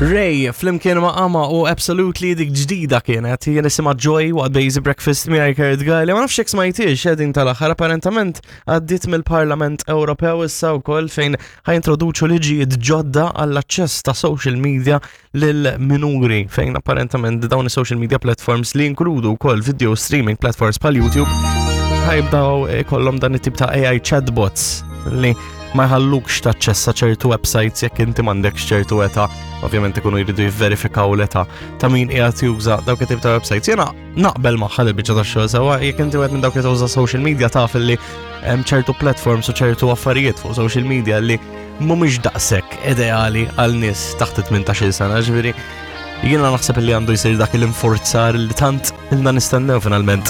Ray, flimkien ma' Ama u Absolutely dik ġdida kienet, jien isimha Joy waqt Bazy Breakfast miegħi Kurt Guy li ma nafx jekk smajtiex eh, din tal-aħħar apparentament għaddiet mill-Parlament Ewropew issa wkoll fejn ħajintroduċu liġijiet ġodda għall-aċċess ta' social media lil minuri fejn apparentament dawn is-social media platforms li jinkludu wkoll video streaming platforms bħal YouTube ħajbdaw ikollhom dan it-tip ta' AI chatbots li ma jħallukx taċċessa ċertu websites jekk inti m'għandekx ċertu età. Ovvjament ikunu jridu jivverifikaw l-età ta' min qiegħed juża dawk it-tip ta' websites. Jiena naqbel magħha li biċċa tax-xogħol sewwa jekk inti wieħed minn dawk li tuża social media taf li hemm ċertu platforms u ċertu affarijiet fuq social media li mhumiex daqshekk ideali għal nies taħt 18-il sena, ġifieri jiena naħseb li għandu jsir dak l-inforzar li tant ilna nistennew finalment.